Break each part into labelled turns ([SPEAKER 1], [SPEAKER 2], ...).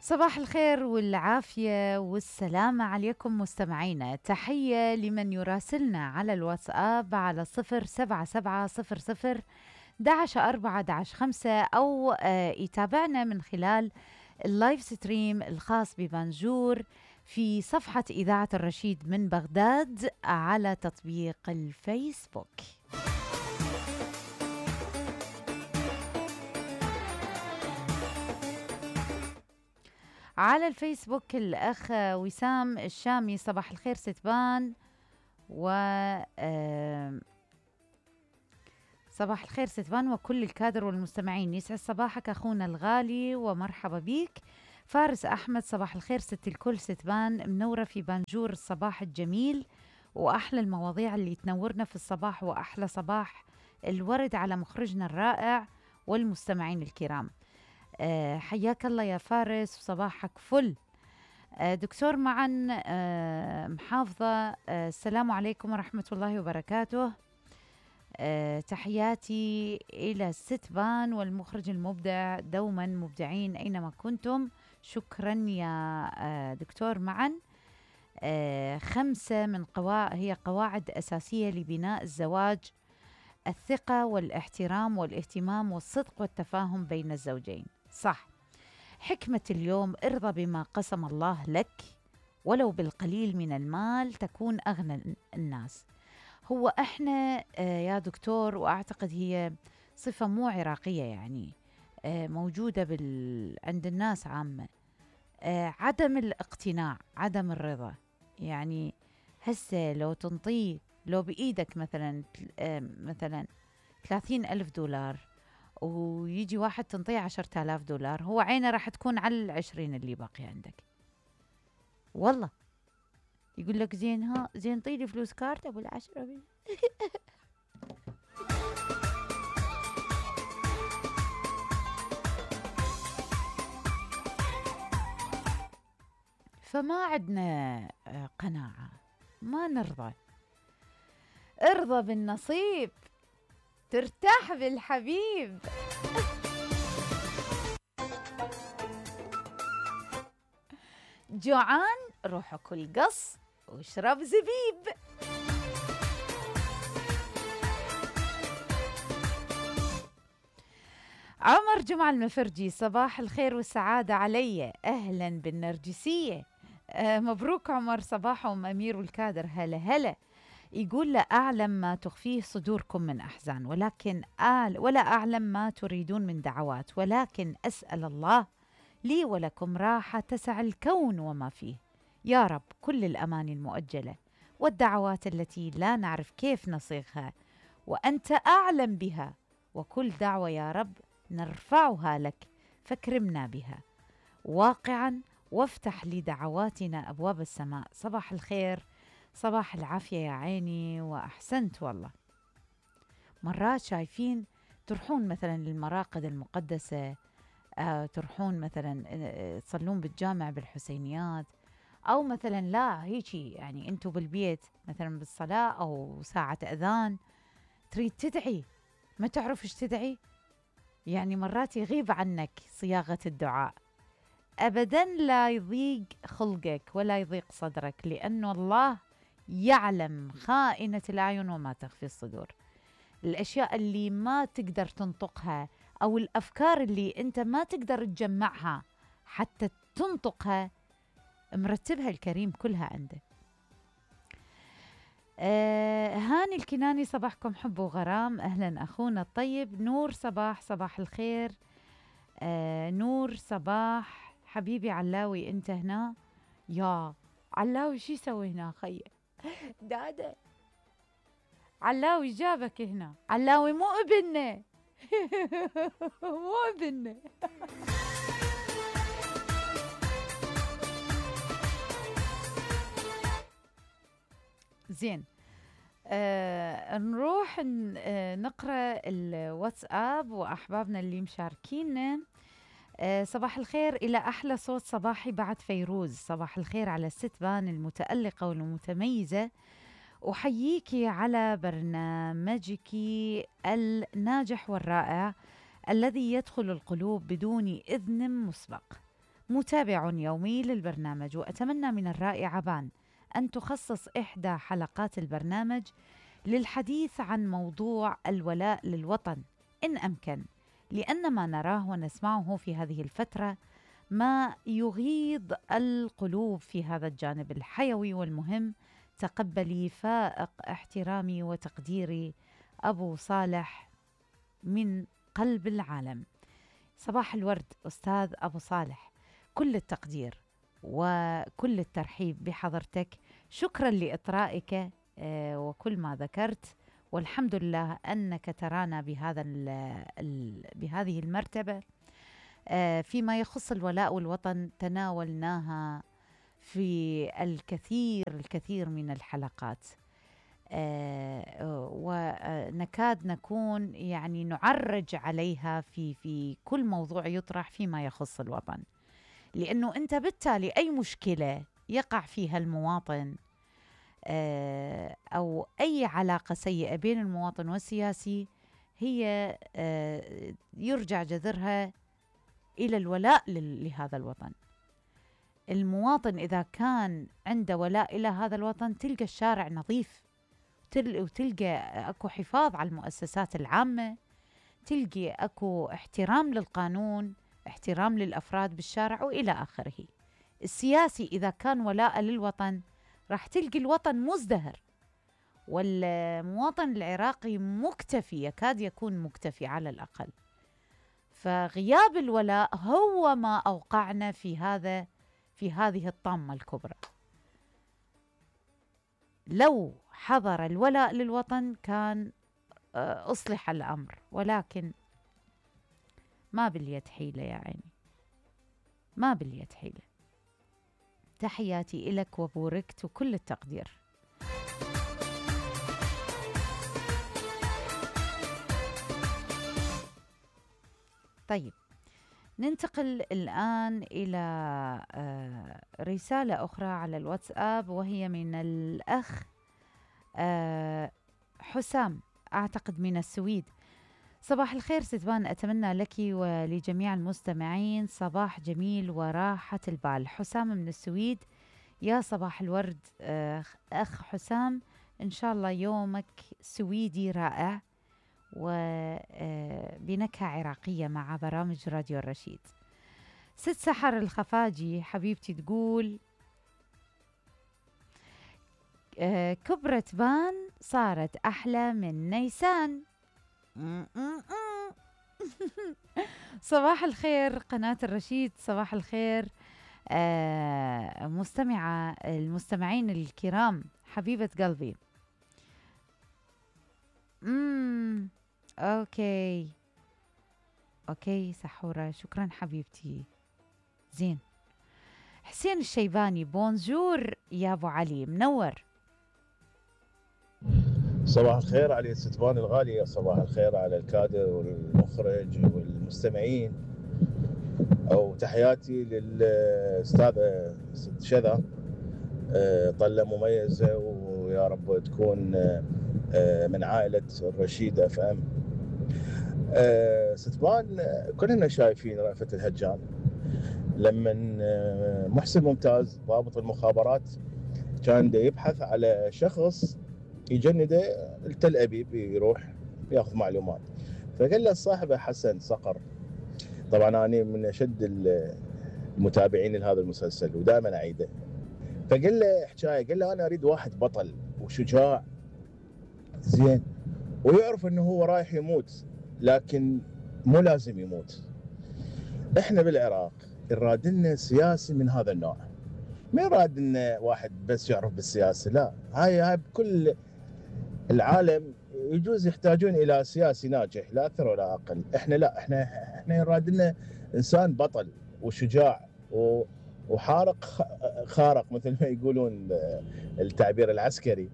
[SPEAKER 1] صباح الخير والعافية والسلامة عليكم مستمعينا. تحية لمن يراسلنا على الواتساب على 07700 11 4 5 أو يتابعنا من خلال اللايف ستريم الخاص ببنجور في صفحة إذاعة الرشيد من بغداد على تطبيق الفيسبوك. على الفيسبوك الأخ وسام الشامي، صباح الخير ستبان، صباح الخير ستبان وكل الكادر والمستمعين، يسعد صباحك أخونا الغالي ومرحبا بيك. فارس أحمد، صباح الخير ست الكل ستبان، منورة في بنجور الصباح الجميل وأحلى المواضيع اللي تنورنا في الصباح، وأحلى صباح الورد على مخرجنا الرائع والمستمعين الكرام. حياك الله يا فارس وصباحك فل. دكتور معا محافظة، السلام عليكم ورحمة الله وبركاته. تحياتي إلى الستبان والمخرج المبدع، دوما مبدعين أينما كنتم. شكرا يا دكتور معا. 5 من هي قواعد أساسية لبناء الزواج: الثقة والاحترام والاهتمام والصدق والتفاهم بين الزوجين. صح. حكمة اليوم: ارضى بما قسم الله لك ولو بالقليل من المال تكون أغنى الناس. هو احنا يا دكتور، واعتقد هي صفة مو عراقية، يعني موجودة عند الناس عامة، عدم الاقتناع، عدم الرضا. يعني هسه لو تنطيه، لو بإيدك مثلا 30,000 دولار ويجي واحد تنطيه 10,000 دولار، هو عينه راح تكون على 20 اللي باقي عندك. والله يقول لك زين، ها زين طيلي فلوس كارت ابو 10. فما عندنا قناعة، ما نرضى. ارضى بالنصيب ترتاح بالحبيب. جوعان روح كل قص واشرب زبيب. عمر جمعة المفرجي، صباح الخير والسعادة علي، أهلا بالنرجسية. مبروك عمر، صباحهم أمير والكادر. هلا هلا. يقول: لا أعلم ما تخفيه صدوركم من أحزان، ولا أعلم ما تريدون من دعوات، ولكن أسأل الله لي ولكم راحة تسع الكون وما فيه. يا رب كل الأماني المؤجلة والدعوات التي لا نعرف كيف نصيغها وأنت أعلم بها، وكل دعوة يا رب نرفعها لك فاكرمنا بها واقعا، وافتح لدعواتنا أبواب السماء. صباح الخير، صباح العافية يا عيني، وأحسنت والله. مرات شايفين تروحون مثلا للمراقد المقدسة، تروحون مثلا تصلون بالجامع بالحسينيات، أو مثلا لا هيجي يعني أنتوا بالبيت مثلا بالصلاة أو ساعة أذان تريد تدعي، ما تعرف إيش تدعي، يعني مرات يغيب عنك صياغة الدعاء. أبدا لا يضيق خلقك ولا يضيق صدرك، لأن الله يعلم خائنة الأعين وما تخفي الصدور. الأشياء اللي ما تقدر تنطقها أو الأفكار اللي أنت ما تقدر تجمعها حتى تنطقها، مرتبها الكريم كلها عنده. هاني الكناني، صباحكم حب وغرام، أهلا أخونا الطيب. نور صباح الخير. نور صباح حبيبي علاوي، أنت هنا؟ يا علاوي شي سوي هنا خي دادا؟ علاوي جابك هنا، علاوي مو ابننا. مو ابننا. زين، نروح نقرأ الواتساب وأحبابنا اللي مشاركينا. صباح الخير إلى أحلى صوت صباحي بعد فيروز. صباح الخير على الستبان المتألقة والمتميزة، أحييكي على برنامجك الناجح والرائع الذي يدخل القلوب بدون إذن مسبق. متابع يومي للبرنامج، وأتمنى من الرائعة عبان أن تخصص إحدى حلقات البرنامج للحديث عن موضوع الولاء للوطن إن أمكن، لأن ما نراه ونسمعه في هذه الفترة ما يغيظ القلوب في هذا الجانب الحيوي والمهم. تقبلي فائق احترامي وتقديري أبو صالح من قلب العالم. صباح الورد أستاذ أبو صالح، كل التقدير وكل الترحيب بحضرتك. شكرا لإطرائك وكل ما ذكرت، والحمد لله أنك ترانا بهذه المرتبة. فيما يخص الولاء والوطن تناولناها في الكثير من الحلقات، ونكاد نكون يعني نعرج عليها في كل موضوع يطرح فيما يخص الوطن، لأنه أنت بالتالي أي مشكلة يقع فيها المواطن أو أي علاقة سيئة بين المواطن والسياسي هي يرجع جذرها إلى الولاء لهذا الوطن. المواطن إذا كان عنده ولاء إلى هذا الوطن تلقى الشارع نظيف، وتلقى أكو حفاظ على المؤسسات العامة، تلقى أكو احترام للقانون، احترام للأفراد بالشارع وإلى آخره. السياسي إذا كان ولاء للوطن راح تلقي الوطن مزدهر، والمواطن العراقي مكتفي، يكاد يكون مكتفي على الأقل. فغياب الولاء هو ما أوقعنا في هذه الطامة الكبرى. لو حضر الولاء للوطن كان أصلح الأمر، ولكن ما باليد حيلة يا عيني، ما باليد حيلة. تحياتي إلك وبوركت وكل التقدير. طيب، ننتقل الآن إلى رسالة أخرى على الواتساب، وهي من الأخ حسام، أعتقد من السويد. صباح الخير ستبان، أتمنى لك ولجميع المستمعين صباح جميل وراحة البال. حسام من السويد، يا صباح الورد أخ حسام، إن شاء الله يومك سويدي رائع وبنكهة عراقية مع برامج راديو الرشيد. ست سحر الخفاجي حبيبتي تقول كبرت بان صارت أحلى من نيسان. صباح الخير قناة الرشيد، صباح الخير المستمعين الكرام، حبيبة قلبي. اوكي سحورة، شكرا حبيبتي. زين. حسين الشيباني، بونجور يا ابو علي، منور.
[SPEAKER 2] صباح الخير علي ستبان الغالية، صباح الخير على الكادر والمخرج والمستمعين، أو تحياتي للأستاذة ست شذا، طلة مميزة، ويا رب تكون من عائلة الرشيد اف ام. ستبان كلنا شايفين رأفت الهجان لما محسن ممتاز ضابط المخابرات كان يبحث على شخص يجنده لتل أبيب يروح ياخذ معلومات، فقال له صاحبه حسن صقر، طبعا أنا من أشد المتابعين لهذا المسلسل ودائما أعيده، فقال له حكاية، قال له أنا أريد واحد بطل وشجاع زين ويعرف أنه هو رايح يموت لكن مو لازم يموت. إحنا بالعراق يراد لنا سياسي من هذا النوع، ما يراد لنا واحد بس يعرف بالسياسة، لا، هاي بكل العالم يجوز يحتاجون الى سياسي ناجح لا اكثر ولا اقل. احنا لا، احنا يراد لنا انسان بطل وشجاع وحارق خارق مثل ما يقولون التعبير العسكري،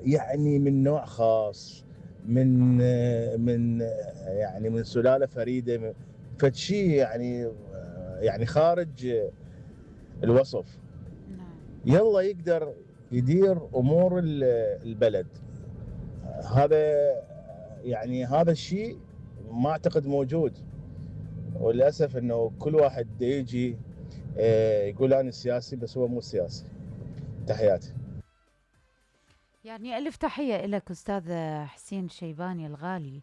[SPEAKER 2] يعني من نوع خاص، من يعني من سلاله فريده، فشي يعني خارج الوصف. يلا يقدر يدير امور البلد. هذا الشيء ما اعتقد موجود وللاسف انه كل واحد دا يجي يقول انا سياسي بس هو مو سياسي. تحياتي.
[SPEAKER 1] يعني ألف تحية لك أستاذ حسين شيباني الغالي.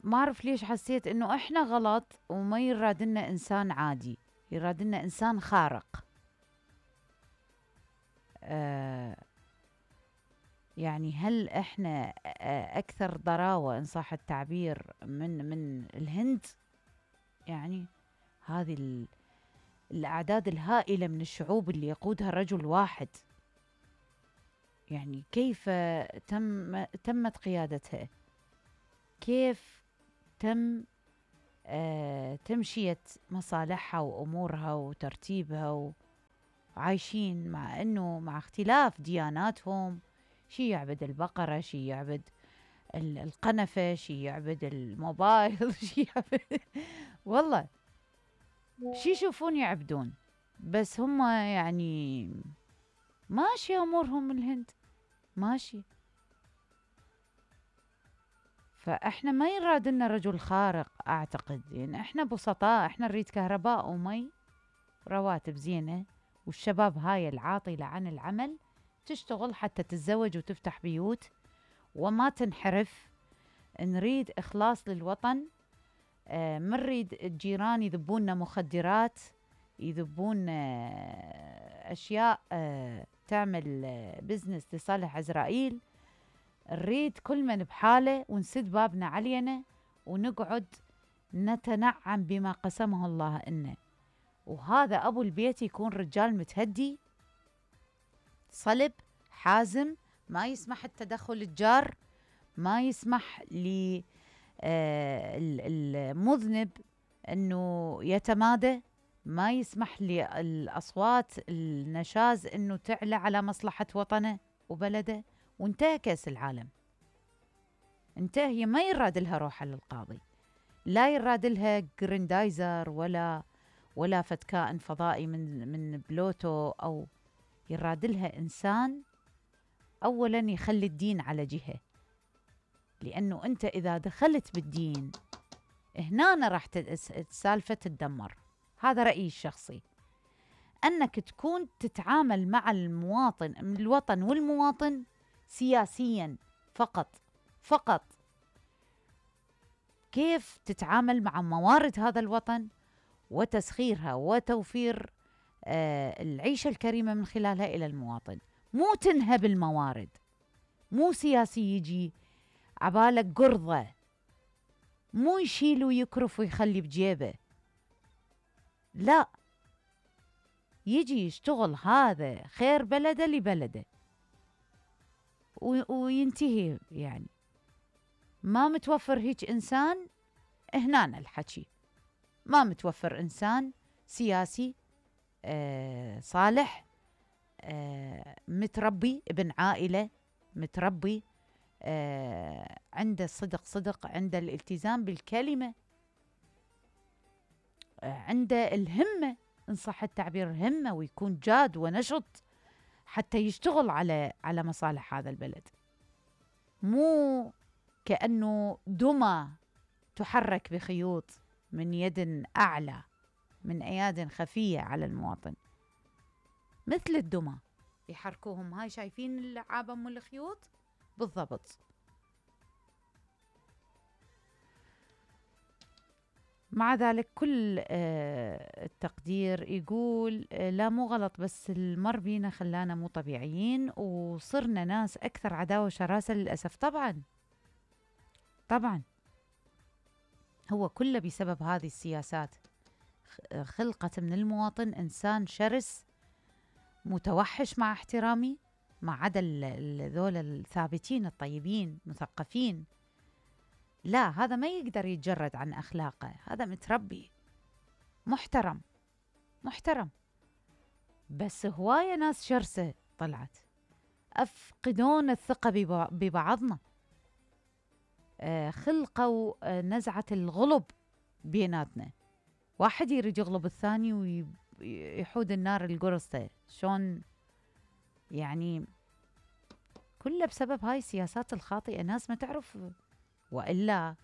[SPEAKER 1] ما أعرف ليش حسيت إنه إحنا غلط وما يرادلنا إنسان عادي، يرادلنا إنسان خارق. يعني هل إحنا أكثر ضراوة إن صح التعبير من الهند؟ يعني هذه الأعداد الهائلة من الشعوب اللي يقودها رجل واحد، يعني كيف تمت قيادتها؟ كيف تم تمشية مصالحها وأمورها وترتيبها، وعايشين مع أنه مع اختلاف دياناتهم، شي يعبد البقرة، شي يعبد القنفة، شي يعبد الموبايل شي يعبد والله شي يشوفون يعبدون، بس هم يعني ماشي أمورهم الهند ماشي. فإحنا ما يراد لنا رجل خارق أعتقد، يعني إحنا بسطاء، إحنا نريد كهرباء ومي، رواتب زينة، والشباب هاي العاطلة عن العمل تشتغل حتى تتزوج وتفتح بيوت وما تنحرف. نريد إخلاص للوطن. ما نريد الجيران يذبون مخدرات، يذبون أشياء تعمل بزنس لصالح إسرائيل. نريد كل من بحاله ونسد بابنا علينا ونقعد نتنعم بما قسمه الله لنا. وهذا أبو البيت يكون رجال متهدي صلب حازم، ما يسمح التدخل الجار، ما يسمح للمذنب أنه يتمادى، ما يسمح للأصوات النشاز أنه تعلى على مصلحة وطنه وبلده. وانتهى كأس العالم، انتهى، ما يراد لها روحها للقاضي، لا يراد لها جريندايزر ولا فتكائن فضائي من بلوتو، أو يراد لها إنسان أولا يخلي الدين على جهة، لأنه أنت إذا دخلت بالدين هنا راح السالفة تتدمر. هذا رأيي الشخصي، أنك تكون تتعامل مع الوطن والمواطن سياسيا فقط. كيف تتعامل مع موارد هذا الوطن وتسخيرها وتوفير العيشة الكريمة من خلالها إلى المواطن، مو تنهب الموارد، مو سياسي يجي عبالك قرضة، مو يشيل ويكرف ويخلي بجيبه، لا، يجي يشتغل هذا خير بلده لبلده وينتهي. يعني ما متوفر هيك إنسان هنا الحكي، ما متوفر إنسان سياسي صالح، متربي ابن عائلة، متربي عنده صدق، عنده الالتزام بالكلمة، عنده الهمة إن صح التعبير، همة، ويكون جاد ونشط حتى يشتغل على مصالح هذا البلد، مو كأنه دمى تحرك بخيوط من يد أعلى، من أياد خفية على المواطن، مثل الدمى يحركوهم. هاي شايفين اللعابة مو الخيوط بالضبط. مع ذلك كل التقدير يقول لا مو غلط، بس المر بينا خلانا مو طبيعيين وصرنا ناس أكثر عداوة وشراسة للأسف. طبعا هو كله بسبب هذه السياسات. خلقت من المواطن إنسان شرس متوحش، مع احترامي، ما عدا ذول الثابتين الطيبين مثقفين، لا، هذا ما يقدر يتجرد عن أخلاقه، هذا متربي محترم، بس هواية ناس شرسة طلعت، أفقدون الثقة ببعضنا، خلقوا نزعة الغلب بيناتنا، واحد يريد يغلب الثاني ويحود النار القرصة، شون يعني، كله بسبب هاي السياسات الخاطئة. ناس ما تعرف، وإلا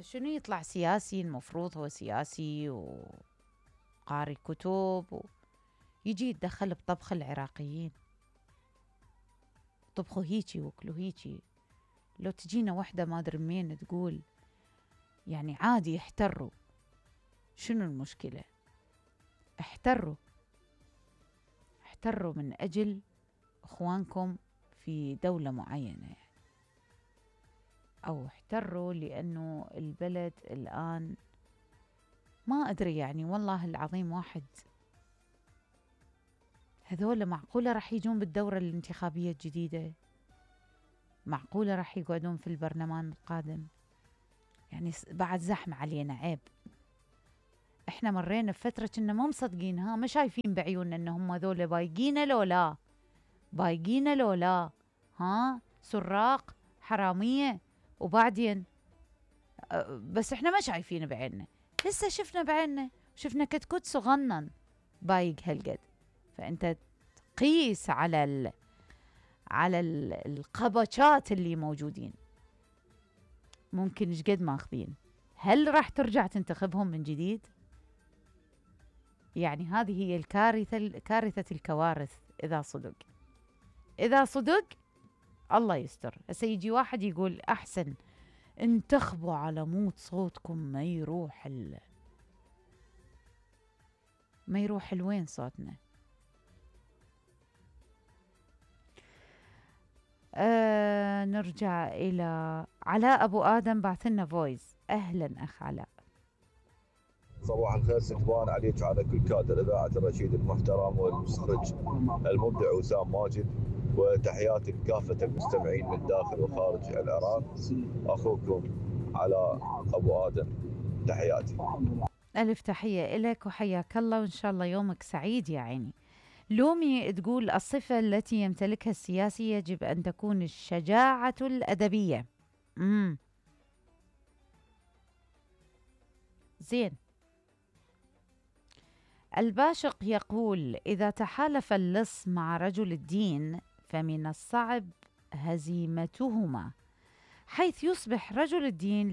[SPEAKER 1] شنو يطلع سياسي؟ المفروض هو سياسي وقاري كتب يجي يتدخل بطبخ العراقيين، طبخوا هيجي وكلوا هيجي. لو تجينا وحدة ما أدري منين تقول يعني عادي احتروا، شنو المشكلة؟ احتروا من أجل إخوانكم في دولة معينة يعني. أو احتروا لأنه البلد الآن ما أدري يعني، والله العظيم واحد هذول معقولة راح يجون بالدورة الانتخابية الجديدة؟ معقولة راح يقعدون في البرلمان القادم؟ يعني بعد زحمة علينا، عيب. احنا مرينا بفترة كنا ما مصدقينها، ما شايفين بعيوننا انهم هذول بايقينا لو لا ها سراق حرامية، وبعدين بس احنا ما شايفين بعيننا، لسه شفنا بعيننا، شفنا كتكوت صغنن بايق هالقد. فانت قيس على القبشات اللي موجودين، ممكن ايش قد ماخذين. هل راح ترجع تنتخبهم من جديد؟ يعني هذه هي كارثة الكوارث. إذا صدق الله يستر. هسه يجي واحد يقول أحسن انتخبوا على موت صوتكم، ما يروح لوين صوتنا. نرجع إلى علاء أبو آدم، بعثلنا فويس. أهلا أخ علاء.
[SPEAKER 3] صباح الخير ستوان عليك وعلى كل كادر إذاعة الرشيد المحترم والمستخرج المبدع وسام ماجد، وتحياتي لكافة المستمعين من داخل وخارج العراق. أخوكم علاء أبو آدم، تحياتي.
[SPEAKER 1] ألف تحية إلك وحياك الله، وإن شاء الله يومك سعيد يا عيني. لومي تقول الصفة التي يمتلكها السياسي يجب أن تكون الشجاعة الأدبية. زين. الباشق يقول إذا تحالف اللص مع رجل الدين فمن الصعب هزيمتهما، حيث يصبح رجل الدين